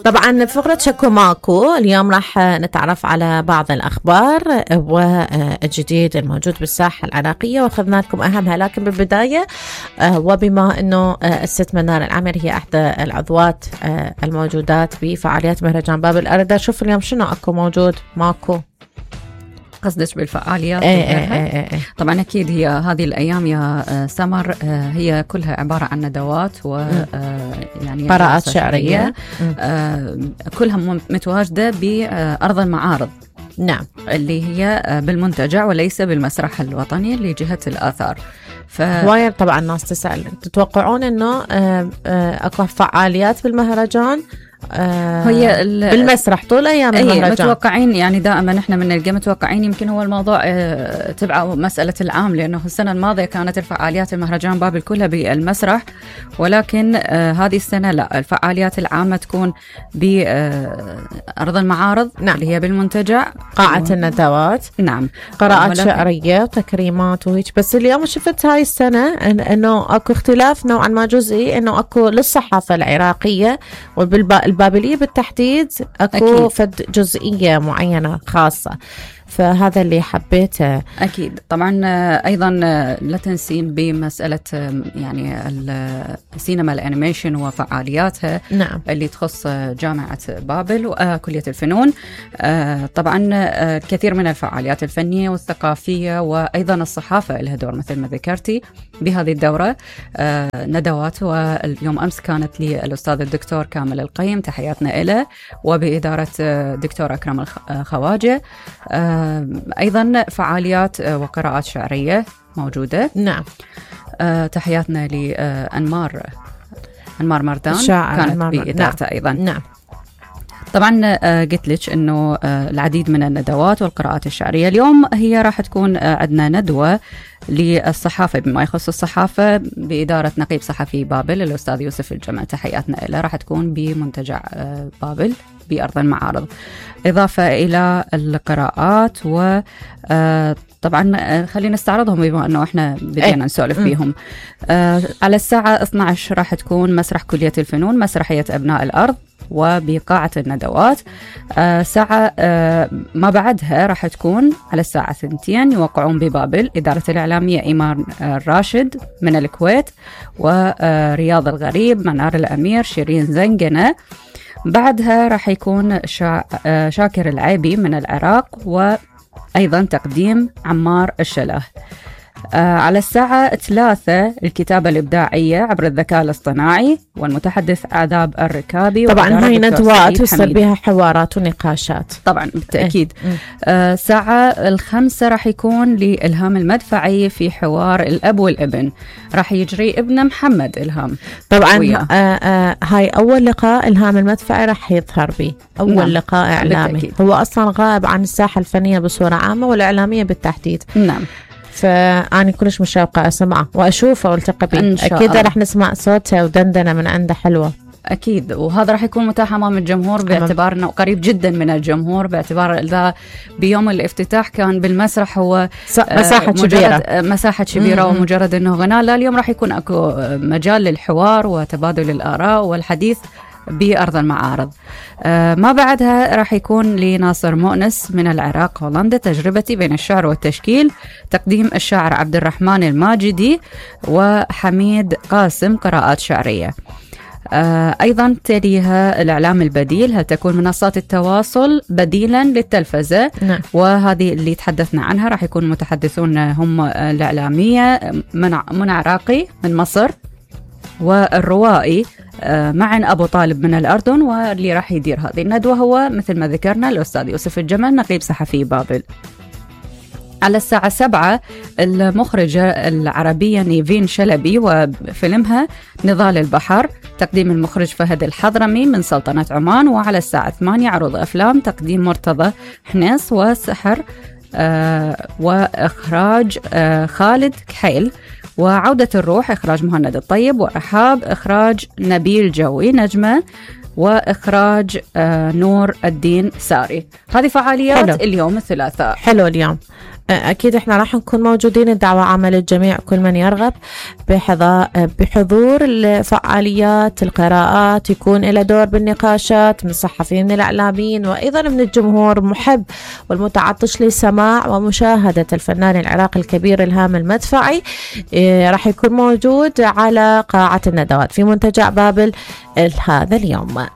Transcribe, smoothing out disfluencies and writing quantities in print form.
طبعا فقرة شكو ماكو اليوم راح نتعرف على بعض الأخبار والجديد الموجود بالساحة العراقية واخذنا لكم أهمها. لكن بالبداية وبما أنه الست منار العامر هي إحدى العضوات الموجودات بفعاليات مهرجان باب الأردة، شوف اليوم شنو أكو موجود ماكو. قصدك بالفعاليات؟ طبعا أكيد هي هذه الأيام يا سمر هي كلها عبارة عن ندوات و يعني قراءات شعرية كلها متواجدة بأرض المعارض. نعم، اللي هي بالمنتجع وليس بالمسرح الوطني لجهة الآثار. وايد طبعا الناس تسأل تتوقعون أنه أكو فعاليات بالمهرجان هي بالمسرح طول أيام المهرجان؟ متوقعين يعني دائما احنا من نلقى متوقعين. يمكن هو الموضوع تبع مسألة العام، لأنه السنة الماضية كانت الفعاليات المهرجان بابل كلها بالمسرح، ولكن هذه السنة لا، الفعاليات العامة تكون بأرض المعارض. نعم. اللي هي بالمنتجع قاعة الندوات. نعم، قراءات شعرية وتكريمات وهيك. بس اليوم شفت هاي السنة انه اكو اختلاف نوعا ما جزئي، انه اكو للصحافة العراقية والبابلية بالتحديد اكو فد جزئية معينة خاصة، فهذا اللي حبيته. أكيد طبعا. أيضا لا تنسين بمسألة يعني السينما الأنيميشن وفعالياتها. نعم. اللي تخص جامعة بابل وكلية الفنون. طبعا الكثير من الفعاليات الفنية والثقافية وأيضا الصحافة لها دور مثل ما ذكرتي بهذه الدورة. ندوات، واليوم أمس كانت لي الأستاذ الدكتور كامل القيم، تحياتنا إله، وبإدارة دكتور أكرم الخواجة. أيضا فعاليات وقراءات شعرية موجودة. نعم. تحياتنا لأنمار مردان، كانت بإدارته. نعم. أيضا. نعم. طبعا قلت لك أنه العديد من الندوات والقراءات الشعرية. اليوم هي راح تكون عندنا ندوة للصحافة بما يخص الصحافة بإدارة نقيب صحفي بابل الأستاذ يوسف الجمل، تحياتنا له. راح تكون بمنتجع بابل بأرض المعارض، إضافة إلى القراءات. و طبعا خلينا نستعرضهم بما أنه إحنا بدينا نسولف بيهم. على الساعة 12 راح تكون مسرح كلية الفنون، مسرحية أبناء الأرض، وبقاعة الندوات. ساعة ما بعدها راح تكون على الساعة 2 يوقعون ببابل إدارة الإعلامية إيمان الراشد من الكويت، ورياض الغريب، منار الأمير، شيرين زنجنة. بعدها راح يكون شاكر العيبي من العراق، وأيضا تقديم عمار الشله. على الساعة 3 الكتابة الإبداعية عبر الذكاء الاصطناعي والمتحدث عذاب الركابي. طبعا هاي ندوات يصير بها حوارات ونقاشات طبعا بالتأكيد. ساعة 5 راح يكون لإلهام المدفعي في حوار الأب والابن، راح يجري ابن محمد إلهام. طبعا هاي أول لقاء إلهام المدفعي راح يظهر به، أول نعم. لقاء إعلامي بالتأكيد. هو أصلا غائب عن الساحة الفنية بصورة عامة والإعلامية بالتحديد. نعم. فأنا كلش مشوقة أسمعه وأشوفه والتقى به. أكيد راح نسمع صوته ودندنة من عنده حلوة. أكيد، وهذا راح يكون متاح أمام الجمهور باعتبار أنه قريب جدا من الجمهور، باعتبار إذا بيوم الافتتاح كان بالمسرح هو مساحة كبيرة ومجرد أنه غناء. لا، اليوم راح يكون أكو مجال للحوار وتبادل الآراء والحديث بأرض المعارض. ما بعدها راح يكون لناصر مؤنس من العراق هولندا، تجربتي بين الشعر والتشكيل، تقديم الشاعر عبد الرحمن الماجدي، وحميد قاسم قراءات شعرية. أيضا تليها الإعلام البديل، هل تكون منصات التواصل بديلا للتلفزة؟ نعم. وهذه اللي تحدثنا عنها راح يكون متحدثون هم الإعلامية منى عراقي من مصر، والروائي معن أبو طالب من الأردن. واللي راح يدير هذه الندوة هو مثل ما ذكرنا الأستاذ يوسف الجمل نقيب صحفي بابل. على الساعة 7 المخرجة العربية نيفين شلبي وفيلمها نضال البحر، تقديم المخرج فهد الحضرمي من سلطنة عمان. وعلى الساعة 8 عروض أفلام، تقديم مرتضى حنيس وسحر وإخراج خالد كحيل. وعودة الروح إخراج مهند الطيب، ورحاب إخراج نبيل جوي نجمة. وإخراج نور الدين ساري. هذه فعاليات حلو. اليوم الثلاثاء. حلو اليوم. أكيد إحنا راح نكون موجودين. الدعوة عامة للجميع، كل من يرغب بحضور الفعاليات، القراءات، يكون له دور بالنقاشات من الصحفيين الإعلاميين وأيضا من الجمهور محب والمتعطش لسماع ومشاهدة الفنان العراقي الكبير إلهام المدفعي. راح يكون موجود على قاعة الندوات في منتجع بابل هذا اليوم.